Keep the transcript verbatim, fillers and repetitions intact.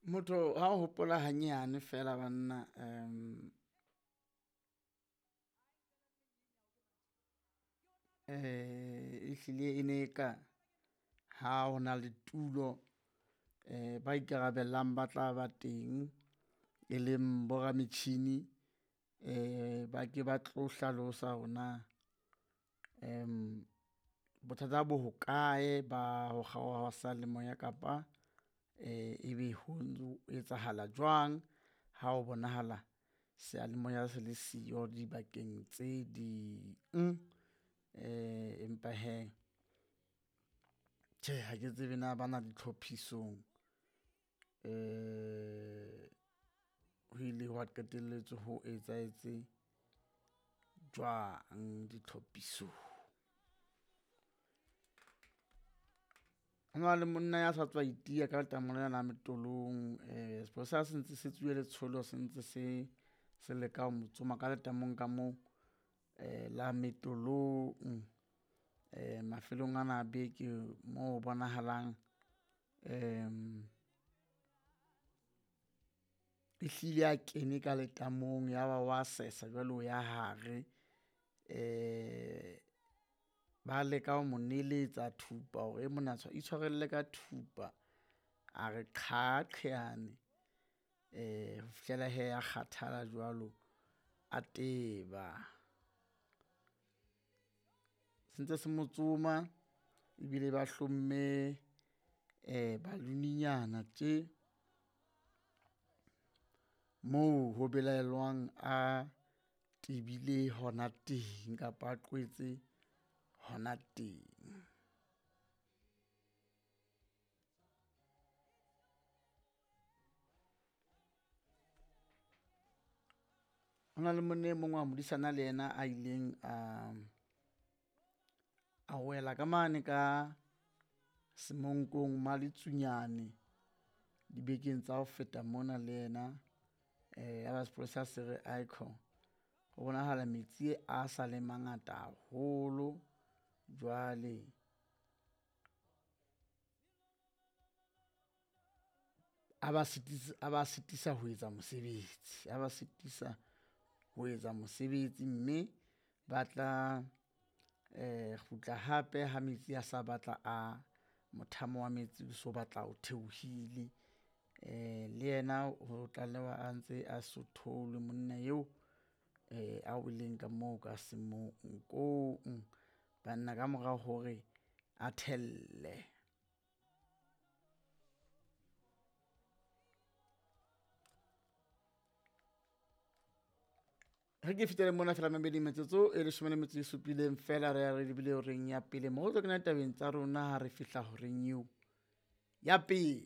Motho ha o hopola hanyane fela banna um ehlile e ne ka ha ho na le tulo eh ba ikarabellang ba tla ba teng, e leng bo rametjhini eh ba ke ba tlo hlalosa hore na bothata bo hokae ba ho kgaoha ha seyalemoya kapa ebe ho etsahala jwang ha ho bonahala seyalemoya se le siyo dibakeng tse ding. Empa hee tjhe, ha ke tsebe na bana ditlhophisong ho ile hwa qetelletse ho etsahetse jwang ditlhophisong. Ho na le monna ya sa tswa itiya ka letamo lena la Metolong sepolesa se ntse se tsoile letsholo se ntse se se leka ho mo tsoma ka letamong ka moo la Metolong. Mafelong ana a beke moo ho bonahalang ehlile a kene ka letamong ya ba wa sesa jwale o ya hare. Ba leka ho mo neletsa thupa hore monna itshwarelle ka thupa, a re qha qheyane ho fihlela hee a kgathala jwalo, a teba. Se ntse se mo tsoma ebile ba hlomme balloon-nyana tje moo ho belaellwang a tebile hona teng kapa a qwetse hona teng. Ho na le monna e mong wa modisana le yena a ileng a, a wela ka mane ka Semonkong Maletsunyane dibekeng tsa ho feta mona le yena. Ya ba sepolesa se re aikhona ho bonahala metsi a sa le mangata haholo jwale a ba a ba sitisa ho etsa mosebetsi, a ba sitisa ho etsa mosebetsi mme ba tla kgutla hape ha metsi a sa batla a mothamo wa metsi o so batla o theohile. Le yena ho tlalewa a ntse a so tholwe monna eo a weleng ka moo ka semonkong banna ka mora hore a thelle. Re ke fetele mona fela mamedi metsotso e leshome le metso e supileng fela re ya re lebile horeng ya pele mo re tlo kena tabeng tsa rona ha re fihla horeng eo ya pele.